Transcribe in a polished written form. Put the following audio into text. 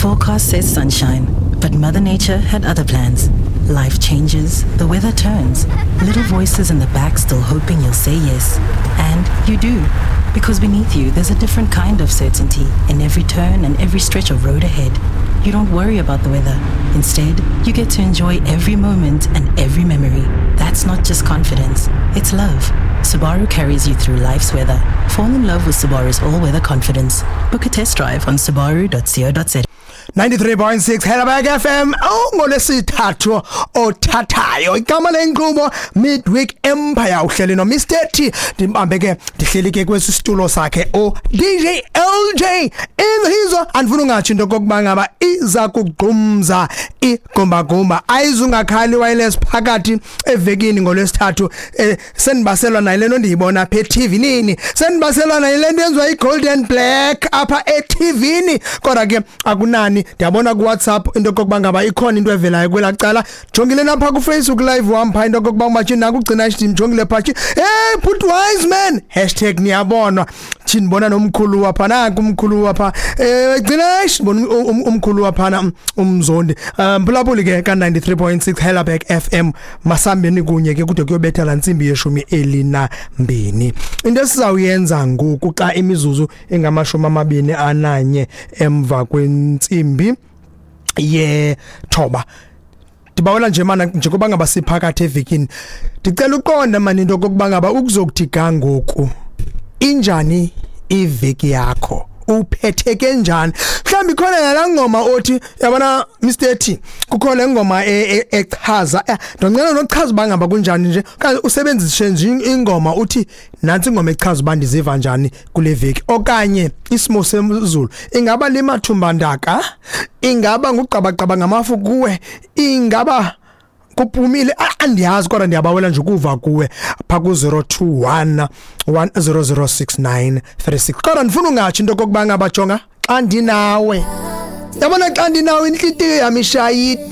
forecast says sunshine, but Mother Nature had other plans. Life changes, the weather turns, little voices in the back still hoping you'll say yes. And you do. Because beneath you, there's a different kind of certainty in every turn and every stretch of road ahead. You don't worry about the weather. Instead, you get to enjoy every moment and every memory. That's not just confidence, it's love. Subaru carries you through life's weather. Fall in love with Subaru's all-weather confidence. Book a test drive on subaru.co.za. 93.6 Helderberg FM ongolesithathu othathayo igama lenkqubo Midweek Empire uhleli no Mr T ndimbambe ke ndihleli ke kwesi situlo sakhe o DJ LJ inhizo andifuna ungatsho into kokuba ngaba iza kugqumza igumbagumba ayizungakhali wireless phakathi evekini ngolwesithathu senibaselwa nayo lento ndiyibona apha eTV nini senibaselwa nayo lento yenziwa iGolden Black apha eTV ni kodwa ke akunani ndiyabona ku WhatsApp into kokuba ngaba ikhona into evelayo kwela cala jongile napha ku Facebook live wam pha into kokuba umatshini nakugcina ndimjongile pha hey put wise man #niyabonwa thini bona nomkhulu wapha nanku umkhulu wapha gcina ndibona umkhulu waphana umzondi mphulaphuli ke ka 93.6 Helderberg FM masambeni kunye ke kude kuyobetha la ntsimbi yeshumi elinambini into esizawuyenza ngoku xa imizuzu engamashumi amabini ananye emva kwentsimbi yethoba ndibawela nje mana njengoba ngaba siphakathi evekini ndicela uqonda mani into kokuba ngaba ukuzokuthi ga ngoku injani iveki yakho uphetheke njani mhlawumbi ikhona nalaa ngoma othi yabona Mr T kukho le ngoma echaza ndonqena nokuchaza uba ngaba kunjani nje okanye usebenzise nje ingoma uthi nantsi ingoma echaza uba ndiziva njani kule veki okanye isimo sezulu ingaba limathumbandaka ingaba ngugqabagqaba ngamafu kuwe ingaba kuphumile andiyazi kodwa ndiyabawela nje ukuva kuwe pha ku 021 1006936 kodwa ndifuna ungatsho into kokuba ngaba jonga xa ndinawe yabona xa ndinawe inhlitiyo yami ishayiti.